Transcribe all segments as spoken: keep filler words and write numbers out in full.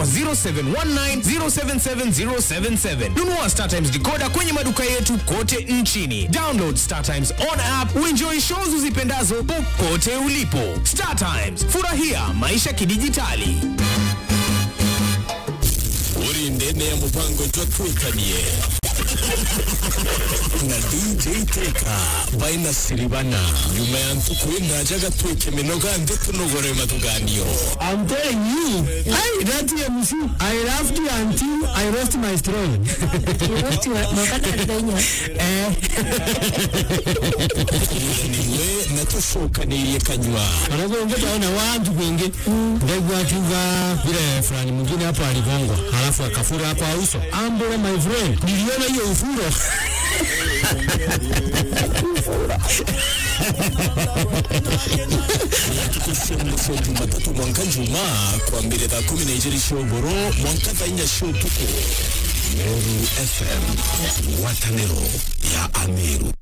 zero seven one nine zero seven seven zero seven seven. Nunua StarTimes decoder kwenye maduka yetu kote nchini. Download StarTimes on app, uenjoy shows uzipendazo popote ulipo. StarTimes, furahia maisha kidijitali. Uri ndene ya mupango jwa Twikanie na D J Teka baina Siribana. Nyuma ya ntuku indaja gatwike minoga nthi tunogore mathuganio. I'm telling you, hey, that M C, I laughed until I lost my throne. You lost your, no, kana ndenya. Eh. Niwe na tucokanirie kanyua. Wanakuongea na watu wengi. Ndaigua akiuga vile fulani mwingine hapo aligongwa, halafu akafura kwa uso. Ambole, my friend, niliona hiyo ufuro. Tukushia mwisho Jumatatu mwanka Juma, kwambire thaa kumi na ijiri cia ugoro mwanka thaa inya cia utuku. Meru F M, ngwataniro ya Ameru.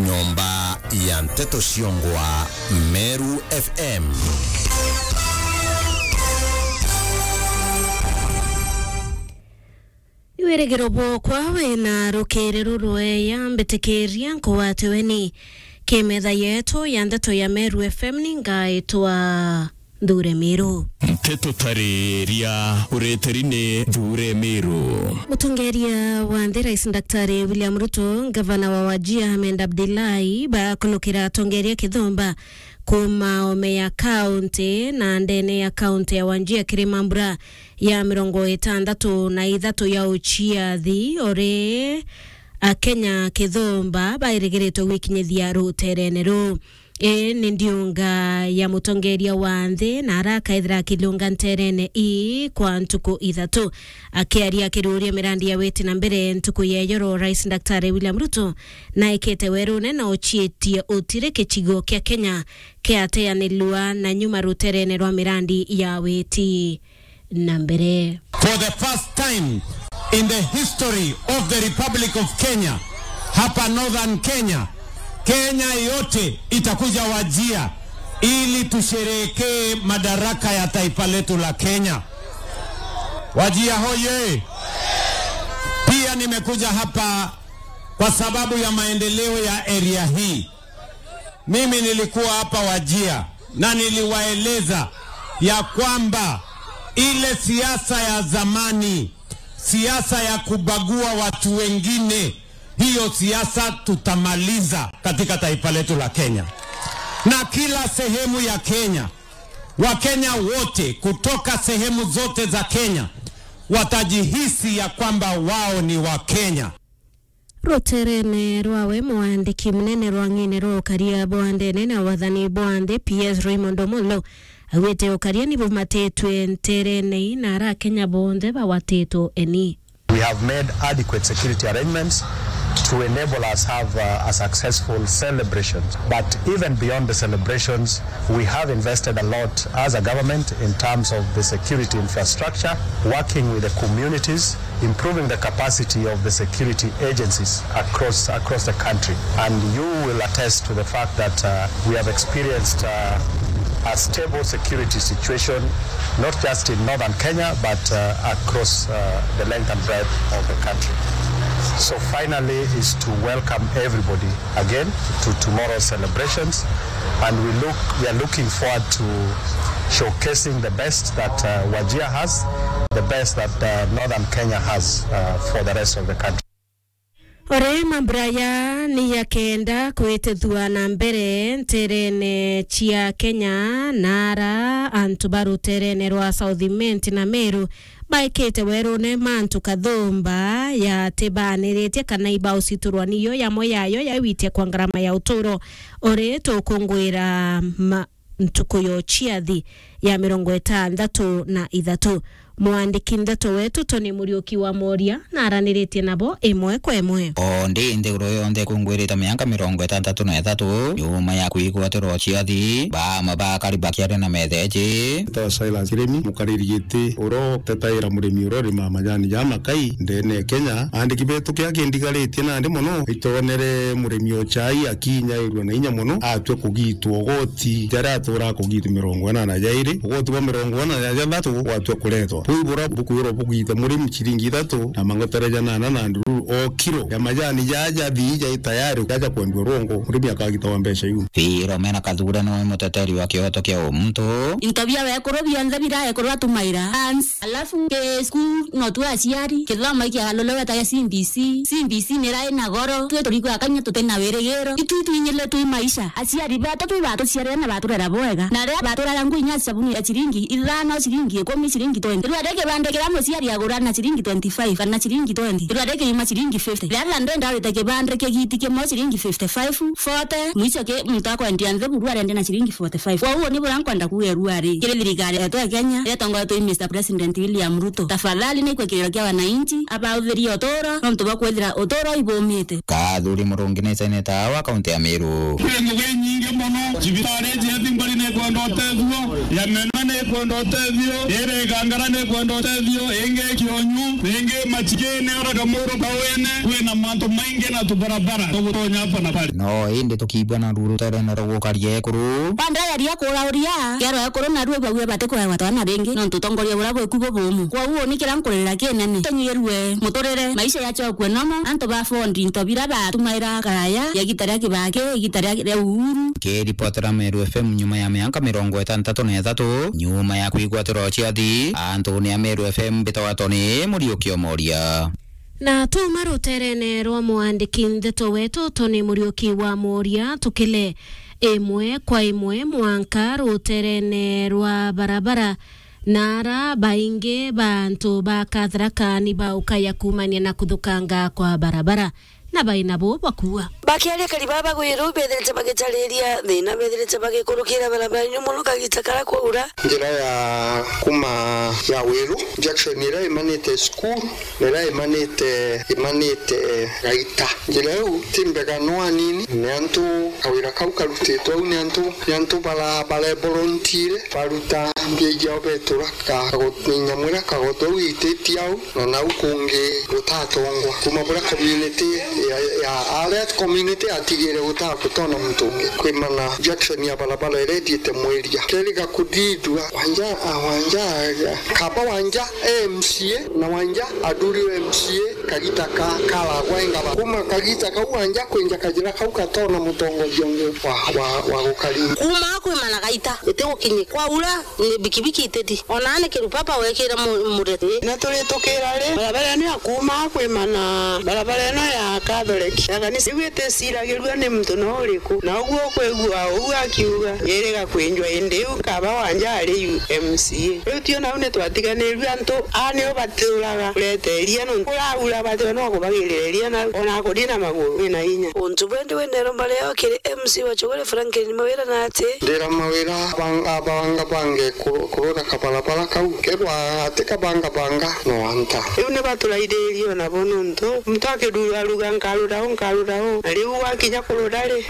Nyomba ya nteto ciongwa, Meru F M. Wirigiro bwokwa wina rukiri rurweya, mbitikiria nkugwate weni. Kimetha yetu ya nteto ya Meru F M ni ngaitwa Nthure Miru. Nteto tariria ureteri ni Nthure Miru. Mutongeria wa nthi Rais Daktari William Ruto, ngavana wa Wajir Ahmed Abdullahi bakunukira atongeria kithumba kuma ome ya kaunti na ndene ya kaunti ya Wajir kiri mambura ya mirongo itandatu na ithatu ya uciathi, uri Akenya kithumba bairigiritwe gwikinyithia ruterene ruu. Ii ni ndiunga ya mutongeria wa nthi na arakaethira akilunga nterene ii kwa ntuku ithatu. Akiaria akiruria mirandi ya witi na mbere ntuku ya ijoro, Rais Daktari William Ruto naikite werune na ucietie utiri gicigo kia Kenya kiateanirua na nyuma ruterene rwa mirandi ya witi na mbere. For the first time in the history of the Republic of Kenya, hapa Northern Kenya, Kenya yote itakuja Wajir ili tusherehekee madaraka ya taifa letu la Kenya. Wajir hoye! Pia nimekuja hapa kwa sababu ya maendeleo ya area hii. Mimi nilikuwa hapa Wajir na niliwaeleza ya kwamba ile siasa ya zamani, siasa ya kubagua watu wengine, hiyo siasa tutamaliza katika taifa letu la Kenya. Na kila sehemu ya Kenya, Wakenya wote kutoka sehemu zote za Kenya watajihisi ya kwamba wao ni Wakenya. Ruterene rwawe, mwandiki munene rwang'ine rwa ukaria bwa ndene na wathani bwa nthi, P S Raymond Omolo, augite ukaria ni bumatitwe nterene ii na ara Akenya bonthe bawatitwe eni. We have made adequate security arrangements to enable us have, uh, a successful celebration. But even beyond the celebrations, we have invested a lot as a government in terms of the security infrastructure, working with the communities, improving the capacity of the security agencies across, across the country. And you will attest to the fact that, uh, we have experienced, uh, a stable security situation, not just in northern Kenya, but, uh, across, uh, the length and breadth of the country. So finally is to welcome everybody again to tomorrow's celebrations, and we look, we are looking forward to showcasing the best that, uh, Wajir has, the best that, uh, Northern Kenya has, uh, for the rest of the country. Ore mambura ya ni ya kenda kwitithua na mbere nterene cia Kenya na ara antu ba ruterene rwa South Imenti na Meru baikite werune mantu kathumba yatibaniritie kana ibauciturwa niyo yamwe yayo yaiwitia kwa ngarama ya uturo. Ori tukungwira ma-, ntuku ya uciathi ya mirongo itandatu na ithatu. Mwandiki ndeto wetu Tony Muriuki wa Moria na araniritie nabo imwe kwa imwe. O ndi nthiguru yonthe ikungwirite miaka mirongo itantatu na ithatu nyuma ya kwigwatirwa uciathi, baamwe ba akari bakiaria na metheji. Ntawa Silas Kirimi, mukariri giti uria utetaira murimi uria urimaa majani ja makai ndene ya Kenya. Andiki betu kia kindigaritie nandi mono, itonere murimi o chai akinyairua na inya mono, atue kugitwa ugoti jaria atura kugitwa mirongo inana jairi. Ugoti bwa mirongo ina na jathatu gwatua kuretwa. Buu bura bukwirwa bugite murimi ciringi ithatu na mangotere janana na ndururu o kiro ya majani jaja jathii jai tayari jaja kwendiwa rwongo, murimi akagitagwa mbeca iu. Philomena Kathure niwe muteteri wa kioto kia umuntu. Into bia wekuru bionthe bira ekuru atumaira. Hans, alafu ki school no tu aciari, kithomo ikiagalulirwe ta gia C B C. C B C nirai na goro, twi turikwa kanya tuti na wirigiro. Itu itwinyire twi maisha. Aciari betu twi batuciarire na baturera bwega. Na riria baturera ngui nya sabuni ya ciringi ithano, ciringi ikumi, ciringi twenty. Riria ri kibande kiria muciari agura na ciringi twenty-five kana ciringi twenty. Riria ri kiuma ciringi fifty. Riria ndenda wite kibande kigiti kimwe ciringi fifty-five, forty, mwicho ki muntu akwendia nthi buru arendia na ciringi forty-five. Kwa uguo ni buria nkwenda kuuga ruari. Kiri thirikari yetu ya Kenya, iria itongoretwe i Mister President William Ruto. Tafadhali ni ikwe kiriro kia wananchi, abauthirie uturo, nontu bwa kwithira uturo ibumite. Kathuri Murungi ni seneta wa kaunti ya Meru. Kwi ngugi inyingi mono, cibitari cia Thimbari ni ikwenda utethio, ya Menwa ni ikwenda utethio, iri Igangara ni ikwenda utethio, ingi Kionyu, ingi Machiki ni ora Kamuru Kawene, kwina mantu maingi na tubarabara tugutonya apa na bari. No indi tukiigua na ruru ruterene rwa gukaria ekuru. Bandari ya kurauria, kero ekuru na rue bagwe bati kuewa twana ringi, nontu utongoria buria bweku bubumu. Kwa uguo ni kiria nkuririra kinene. Tunyirue muturire, maisha yachokue nomo, antu ba fondi into bira batumaira karaya, ya igita ria Kibaki, igita ria, ria Uhuru. Kiripotera Meru F M nyuma ya mianka mirongo itantatu na ithatu, nyuma ya kwigwatirwa ciathi, antu ni a Meru F M mbitagwa Tony Muriuki Omoria. Na tuma ruterene rwa mwandiki ndeto wetu Tony Muriuki wa Moria, tukile imwe kwa imwe mwanka ruterene rwa barabara, na ara baingi ba antu ba Katharaka ni baukaya kumania na kuthukanga kwa barabara, na baina bo bakuua. Bakiaria kari baba Gwiru, bethirite bagicariria thina, bethirite bagikurukira barabara-ini mono kagita kara kwaura. Njira ya kuma ya Wiru, junction iria imanite cukuru, na iria imanite, imanite Gaita. Njira iu ti mbega no anini, ni antu kawira kau karutitwe au, ni antu, ni antu bara-, barevolunteer, baruta mbia iao betura ka-, kago-, nyamu iria kagoto au ititi au, na nau kungi gutatongwa. Kuma buria community ya, ya, aria community yatigire guta-, gutona muntu ungi. Kwimana junction ya barabara iria ithiite Mwiria. Keri gakuthithua, Wanja, a, Wanja, a, kaba Wanja M C A, na Wanja athuriwe M C A, kagita ka, karagwa engaba. Kuma kagita kau Wanja kwinja kajira kau gatona mutongoria ungi wa, wa, wa gukaringa. Kuma kwimana Gaita, itigukinyi kwaura, ni bikibiki iteti. Ona ni kiru papa wekira mu-, mureti. Na turi tukira ri, barabara ino ya kuma kwimana, barabara ino ya Catholic, ya kanisa, iu iticiragirua ni muntu no uriku. Na uguo ukwigua uu akiuga, yiriga kwinjwa indi iu kaba Wanja ari yu M C A. Riu tio nau ni twatiganirue antu, a nio baturaga kureteria nontu kuraura batio no kubagirira iria na ona kuri na maguru wina inya. Untu bwendi wendero mbare yao kiri M C wa Chogore Franklin Mawira na ati. Ndira Mawira bang-, abanga bange kuru-, kurura kabarabara kau. Kerwa ati kabanga banga no anta. Riu ni baturairirie ona bo nontu muntu akirura ruga nkarura u, nkarura u. Na riu wakinya kurura ri?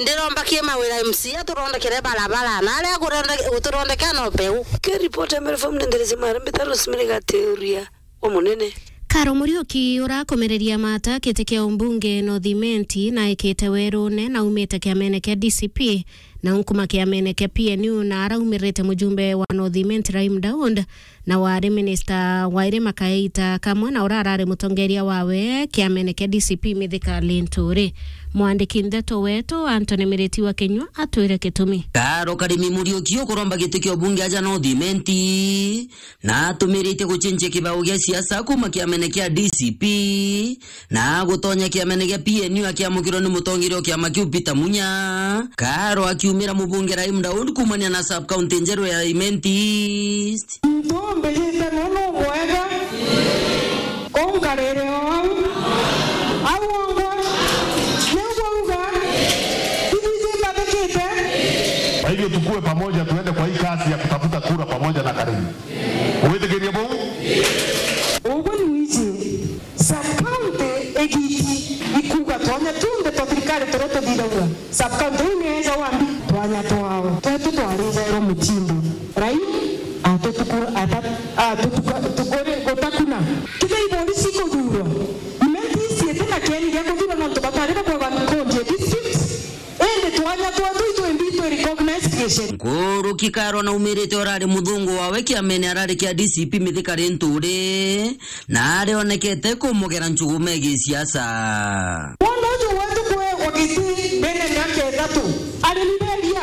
Ndiromba ki Mawira M C a turondekere barabara. Na aria kurende-, guturondekea no peu. Ke ripoti ya Mary Farm ndendereze mara mbita Rosemary Gateria. Umunene. Karo Muriuki urakomereria mata kiti kia umbunge North Imenti na ekite werune na aumite kiamene kia D C P na unkuma kiamene kia P N U na araumirite mujumbe wa North Imenti Rahim Daud na wari minista wa irima kaita kamwe na urarari mutongeria wawe kiamene kia D C P Mithika Linturi. Mwandiki ndeto wetu Anthony Miriti wa Kinyua atwire gitumi. Karo Karimi Muriuki ukuromba giti kia ubunge aja North Imenti na atumiritie gucenjia kibao gia siasa kuma kiamene kia D C P na gutonya kiamene gia P N U akiamukirwa ni mutongeria o kiama kiu Peter Munya. Karo akiumira mubunge Rahim Daud kumania na sub county njeru ya Imenti East. Muntu mbijite nunu bwega, kou nkarire o au. Au ongwa, niu bwauga, ithui twimbathikite. Kwa hivyo tukue pamoja, tuende kwa hii kazi ya kutafuta kura pamoja na Karimi. Gwitikiria buu? Uguo ni wiji. Sub-county igiti ikuuga twanya tunthe twa thirikari turia tuthithagia. Sub-county iu ni eja wambi twanya twao. Twetu twarijairwo mutindo. Rai atutuku-, ata-, atutuka-, tukuri-, gutakuna. Kethira ibori cikuthurwa, Imenti East iti na kieni gia kuthurwa nontu batari bakwagwa nkundi ya district. Indi twanya twetu itwimbi twi recognized Nkuruki Karo naumirite urari muthungu wawe kiamene arari kia D C P Mithika Linturi, na arionekete kumugera njugume gisiasa. Bono uju wetu kuegwa giti mbere ya miaka ithatu, arimi beria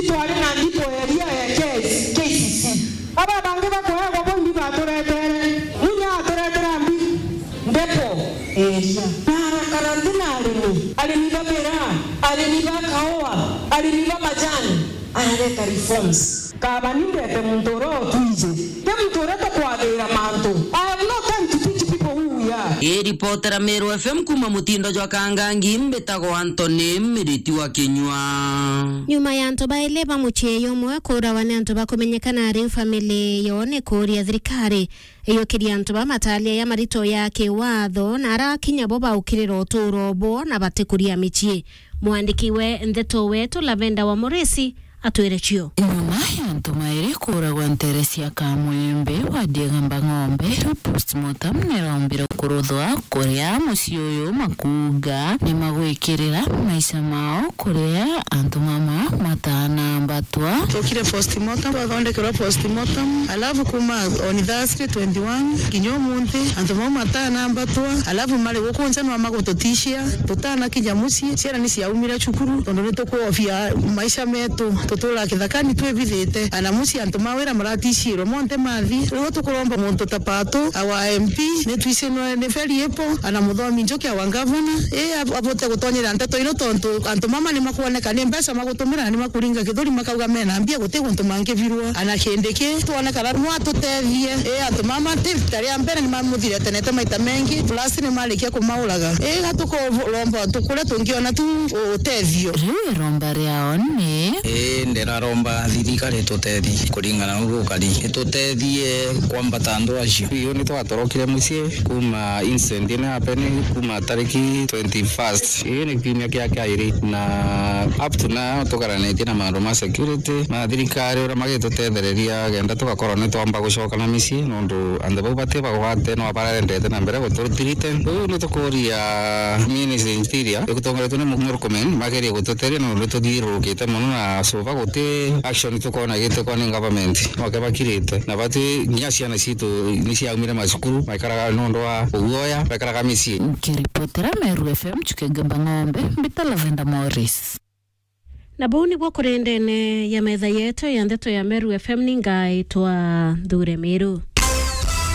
itwari na ndipo eria ya K C C. Aba bangi bakuegwa bo imbi baturetere, munya aturetera mbi, ndepo eria. Narakara nthi na arimi, arimi ba miraa, arimi ba kaua, arimi ba majani, arareta reforms. Kaba ni ndete muntu uria utwiji, ti muntu uria tukwathira mantu. I have no time to teach people who we are. Iripotera Meru F M kuma mutindo jwa Kangangi, mbitagwa Anthony Miriti wa Kinyua. Nyuma ya antu baili ba mucii jumwe kuurawa ni antu bakumenyekana, riu family yo ni kuuria thirikari iyukirie antu ba matalia ya marito ya kiwatho na arakinya bo baukirira utuuro bo na batikuria micii. Mwandiki we ndeto wetu Lavenda wa Moresi atwire cio. Nyuma ya antu mairi kuuragwa ntere cia Kamwembe wa Diegamba Ng'ombe, riu postmortem nirombire kuruthwa kuria mucii uyu makuuga ni magwikirira maisha mao kuria antu mama matanambatwa. Twokire postmortem, twathondekerwa postmortem, alafu kuma on Thursday twenty-one kinya umunthi antu mau matanambatwa, alafu mari guku nja nwa magututishia, tutanakinya mucii, ciana ni ciaumire cukuru, tondu ni tukwofia maisha metu, tutura kithakani twibithite, ana mucii antu ma wira maratishirwe monthe mathi. Riu tukuromba muntu ta Pato, our M P, ni twicinwe ni feri ipo, ana muthomi Njoki, our governor, i ab-, abote gutonyera ndeto ino, tontu antu mama ni makwoneka ni mbeca magutumira na ni makuringa kithuri, makauga mena mbia, guti guntu mangibirwa. Ana Kindiki, twonekana no atutethie, i antu mama ti rita ria mbere, ni mamuthirete nete maita mengi, plus ni marikia kumauraga. I ga tukuromba tukuria tungiona tu utethio. Riu iromba riao ni. Ii, ndiraromba thirikari itutethie kuringana na uria gukari, itutethie kwambata antu acio. Riu ni twatorokire mucii kuma incident ino happen kuma tariki twenty-first. Ii ni kiumia kia kairi, na up to now tugaranitie na maundu ma security na thirikari uria magitutethereria kenda tugakorwo ni twamba gucoka na micii, nondu antu bau bati bagwate no barendete na mbere gututhirite. Riu ni tukuria Ministry Interior igutongoretwe ni Murkomen magerie gututeria, nondu tuthiururukite mono na so far guti action tukwona gitikwa ni government. Noke bakirite na bati nginya ciana citu ni ciaumire macukuru, maikaraga nondu wa uguoya, maikaraga micii. Nkiripotera Meru F M, Chuke Gamba Ng'ombe, mbita Lavenda Morris. Na bau niguo kuri ndene ya metha yetu ya ndeto ya Meru F M, ni ngaitwa Nthure Miru.